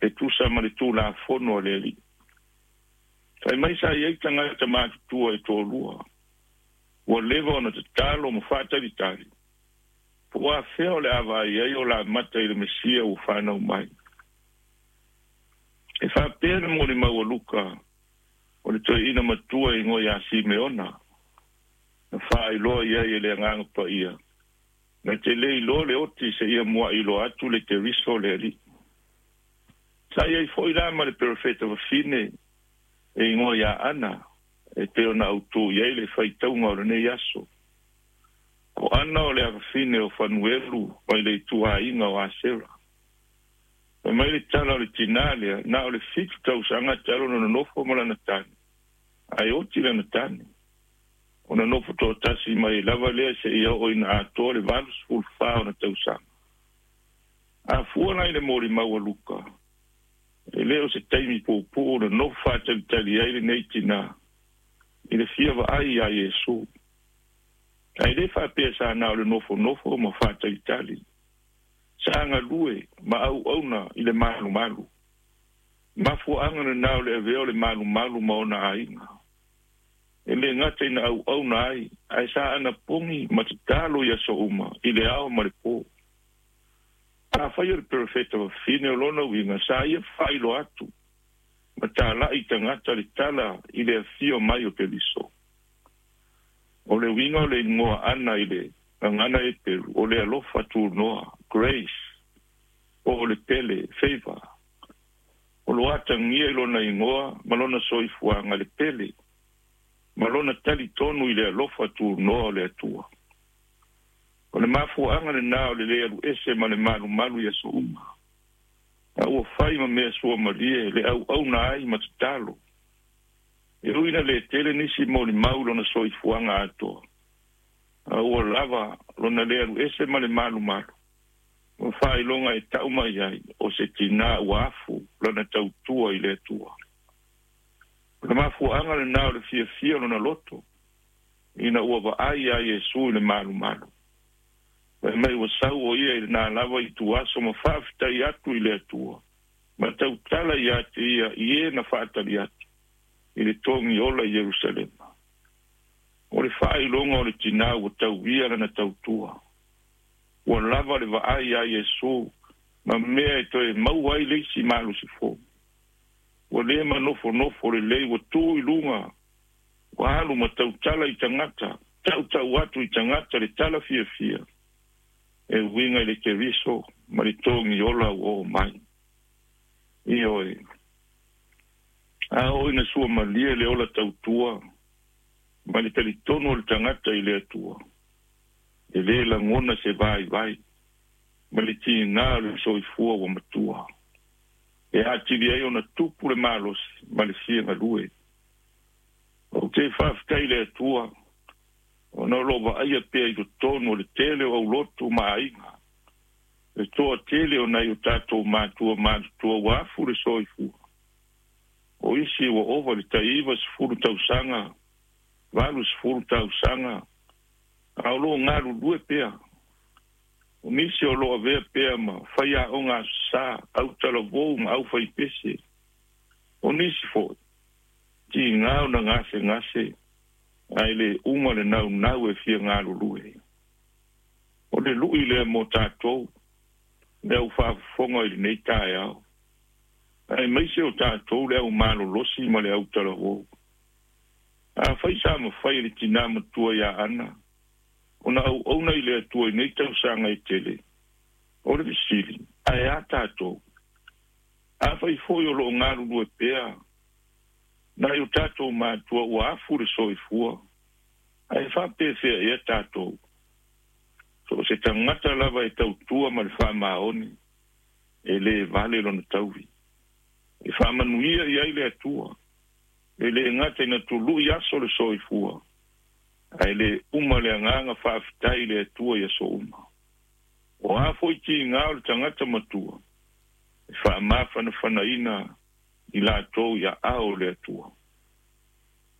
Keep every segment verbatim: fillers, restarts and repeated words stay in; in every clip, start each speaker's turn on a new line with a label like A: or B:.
A: E tusa ma le tulafono a le Alii. Fai mai sa i ai tagata matutua e toalua. Ua leva ona tatalo ma faatalitali. Po o afea o le a vaai ai o lamata i le Mesia ua fanau mai. E faapea le molimau a Luka o le toeaina matua e igoa ia Simeona. Na faailoa i ai e le Agaga Paia. Na te le iloa le oti seia muai iloa atu le Keriso o le Alii. Sa i ai foi la ma le perofeta fafine e igoa ia Ana, e pei ona autū i ai le faitauga o lenei aso. O Ana o le afafine o Fanuelu mai le ituaiga o Asera. Fai mai le tala o le tinā lea, na o le fitu tausaga talu ona nonofo ma lana tane, ae oti lana tane. Ona nofo toatasi mai lava lea seia oo ina atoa le valu sefulu fa ona tausaga. A fua la i le molimau a Luka, e le o se taimi puupuu na nofo faatalitali ai lenei tinā i le fia vaai iā Iesu. Ae le faapea sa na o le nofonofo ma faatalitali. Sa galue ma auauna i le malumalu. Mafuaaga lenā o le avea o le malumalu ma ona aiga. E le gata ina auauna ai, ae sa anapogi ma tatalo i aso uma, i le ao ma le po. Afai o le perofeta fafine o lona uiga, sa ia faailoa atu ma talai i tagata le tala i le afio mai o Keriso. O le uiga o le igoa Ana i le gagana Eperu, o le alofa tunoa, grace, po o le pele, favor. O lo atagia i lona igoa ma lona soifuaga le pele, ma lona talitonu i le alofa tunoa o le Atua. O le mafuaaga lenā o le le alu ese ma le malumalu i aso uma. A ua fai ma mea suamalie le auauna ai ma tatalo. E ui ina le tele nisi molimau i lona soifuaga atoa, a ua lava lona le alu ese ma le malumalu, ma faailoga e tau mai ai o se tinā ua afu lana tautua i le Atua. O le mafuaaga lenā o le fiafia o lona loto, ina ua vaai iā Iesu i le malumalu. Fai mai ua sau o ia i lenā lava ituaso ma faafetai atu i le Atua, ma tautala ia te ia i e na faatali atu i le togi ola i Ierusalema. O le faailoga o le tinā ua tauia lana tautua. Ua lava le vaai iā Iesu ma mea e toe maua ai le isi malosi fou. Ua le manofonofo lelei, ua tu i luga, ua alu ma tautala i tagata, tautau atu i tagata le tala fiafia e uiga i le Keriso ma le togi ola ua oo mai. Ioe, a oo ina suamalie le ola tautua ma le talitonu o le tagata i le Atua, e le lagona se vaivai ma le tiga o le soifua ua matua, e atili ai ona tupu le malosi ma le fia galue. Ou te faafetai i le Atua, ona o lo o vaaia pea i totonu o le tele o aulotu ma aiga, le toatele o nai o tatou matua matutua ua afu le soifua. O isi ua ova le tai-iva sefulu tausaga, valu sefulu tausaga, a o lo o galulue pea. O nisi o lo o avea pea ma faiaoga aso sa, autalavou ma aufaipese. O nisi foi, tiga ona gasegase, ae le uma le naunau e fia galulue. O le lui lea mo tatou, le au faafofoga i lenei taeao, aemaise o tatou le au malolosi ma le autalavou. Afai sa mafai e le tinā matua ia Ana ona auauna i le Atua i nei tausaga e tele, o le fesili, ae a tatou? Afai foi o lo o galulue pea nai o tatou matua ua afu le soifua, ae faapefea ea tatou? So o se tagata lava e tautua ma le faamaoni, e le vale lona tauvi. E faamanuia i ai le Atua, e le gata ina tului aso le soifua, ae le uma le agaga faafetai i le Atua i aso uma. O a foi tiga o le tagata matua, e faamafanafanaina i latou i aao o le Atua.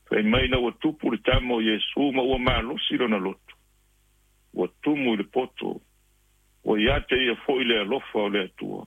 A: Fai mai ina ua tupu le tama o Iesu ma ua malosi lona loto, ua tumu i le poto, ua ia te ia foi le alofa o le Atua.